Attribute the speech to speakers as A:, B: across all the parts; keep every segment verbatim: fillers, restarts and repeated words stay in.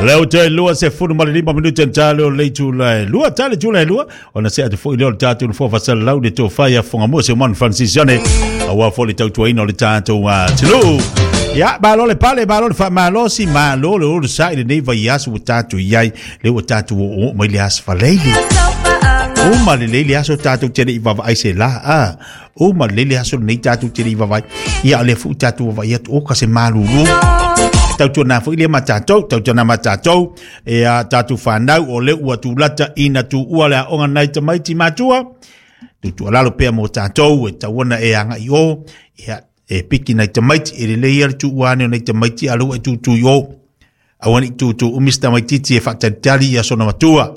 A: Leo te lua se funu ma le lima minute tale o le itula e lua tale tula e lua ona se atu foi leo le tatou no fofa lau le tofa ia fonga se man Francis Yane aua foi le tautuaina o le tatou atunuu. Ia malo le pale malo le faamalosi malo le ulu sa i lenei vaiaso ua tatou i ai le ua tatou oo mai le aso Faleili. Uma lelei le aso tatou te le i vaavaai se la a. Uma lelei le aso lenei tatou te le i vaavaai. Ia o lea foi tatou vaavaai atu o ka se malulu. Tautuana foi le ma tatou, tautuana ma tatou, e a tatou whanau o le ua tūlata ina tuua le aoga nai tamaiti matua. Tutu alalo pea mo tatou, e tauana e anga i o, ia, e piki nai tamaiti, e lelei ia le tuua ane o nai tamaiti alu e tutu i o. Aua ni tutu umis tamaititi e whaatalitali ia sona matua.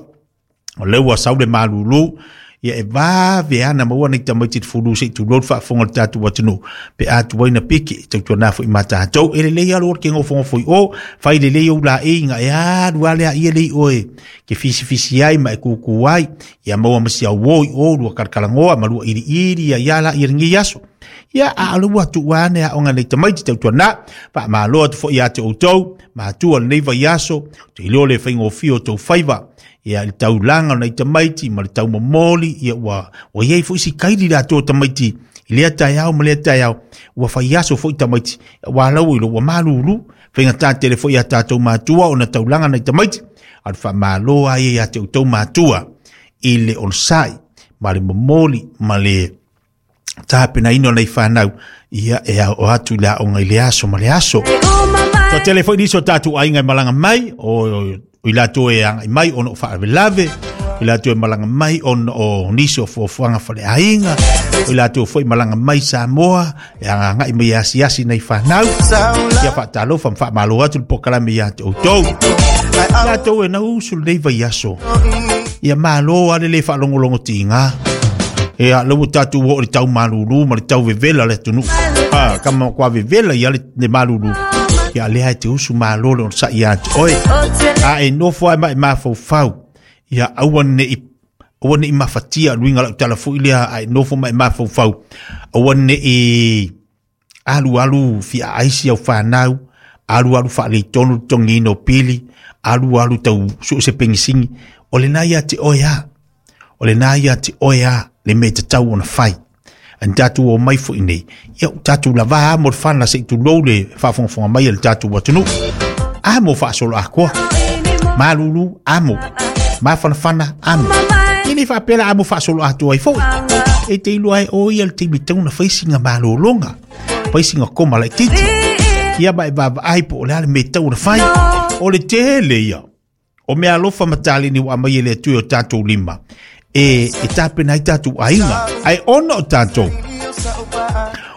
A: O le ua sau le malulu, ia e vave ana maua nei tamaiti te fulu se i tulou le faafofoga o le tatou atunuu pe a tuai na piki tautuana foi ma tatou e lelei alu o le ke gofogofo i o fai lelei ou laeiga e alu a lea ia lei oe ke fisifisi ai ma e kūkū ai ia maua ma si auō i o lua kalakalanoa ma lua iliili ia ia la ia lenei aso. Ia a o le ua tuua ane aoga nei tamaiti tautuana faamalo atu foi ia te outou matua lenei vaiaso te iloa le faigofie o tou faiva. Ia le taulaga o nai tamaiti ma le taumomoli ia ua ua iai foi si kaili latou tamaiti i lea taeao ma lea taeao ua faiaso foi tamaiti ua lau i lo ua malulu faigata tele foi ia tatou matua ona taulaga nai tamaiti a le faamalo ai ia te outou matua i le onosai ma le momoli ma le tapenaina o nai fanau ia e ao atu i le aoga i le aso ma le aso. Toatele foi nisi o tatou aiga e malaga mai o o i latou e agai mai ona o faalavelave, o i latou e malaga mai ona o nisi o fuafuaga faleaiga, o i latou foi malaga mai Samoa e agagai mai e asiasi nai fanau. Ia faatalofa ma faamalo atu le pokalame ia te outou. Latou e nausu lenei vaiaso. Ia malo a le le faalogologo tiga. E a lau tatou oo i le tau malulu ma le tau vevela le atunuu. Ah, kama kwa vevela ia le, le malulu. Ia lea e te usu malo le ona ia te oe. A e nofo ai ma e mafaufau. Ia aua nei aua nei mafatia luinga lau tala foi lea a e nofo ma e mafaufau. Aua nei alu alu fia aisi au whanau, alu alu whaaleitonu tongino pili, alu alu tau su se pengisingi. O le nai a te oe a. O le nai a te oe a le me te tau ona whai. An tatou o mai foi nei. Ia o tatou lava a mo le whana se i tulou le faafogafoga mai e le tatou atunuu. A mo faasolo akoa. Malulu, amo. Mafanafana, amo. E le faapea a mo faasolo atoa ai foi. E te iloa ai o ia le taimi tatau na fai singa malologa. Fai singa koma laitiiti. Ia ma e vaavaai po o le a le mea tatau na fai. O le tele ia. O mea alofa ma taleni ua aumai e le Atua i o tatou lima. E, e tapena ai tatou aiga. Ai ona o tatou.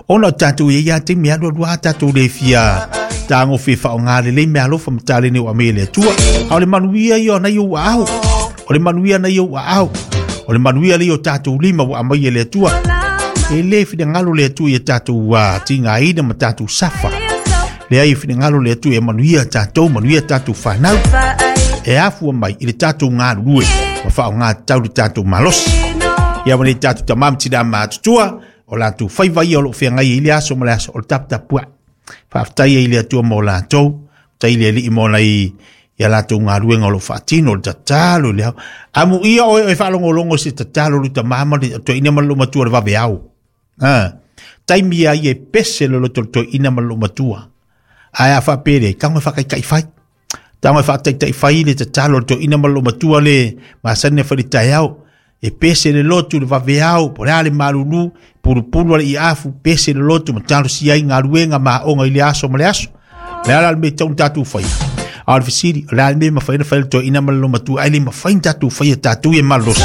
A: Ona o tatou ia ia taimi alu alu a tatou le fia tagofe faaaoga lelei mea alofa ma taleni ua aumai e le Atua. A o le manuia ia o nai ou aao. O le manuia nai ou aao. O le manuia lea o tatou lima ua aumai e le Atua. E le finagalo le Atua ia tatou uh, tigaina ma tatou safa. Lea ia finagalo le Atua ia manuia tatou, manuia tatou whanau. E afua mai i le tatou galulue ma faaaoga tatau le tatou malosi. Ia ma nei tatou tamā ma tinā matutua o latou faiva ia o loo feagai ai i le aso ma le aso o le taputapuai. Faafetai ai i le Atua mo latou, faafetai i le Alii mo nai ia latou galuega o loo faatino le tatalo i le ao. Amuia oe oe faalogologo i se tatalo le tamā ma le toeaina ma le loomatua le vaveao. Ah, taimi ai e pese le loto le toeaina ma le loomatua. Ae a faapea tago e faataitai fai. Tago e faataitai fai le tatalo le toeaina ma le loomatua le masani e fai le taeao. E pese le lotu le vaveao, po o le a le malulu, pulupulu a le iafu, pese le lotu ma talosia ai galuega ma aoga i le aso ma le aso. Le a la le mea tatau ona tatou faia. A o le fesili, o le a le mea e mafai ona fai le toeaina ma le loomatua, ae le mafai ona tatou faia tatou ia malosi.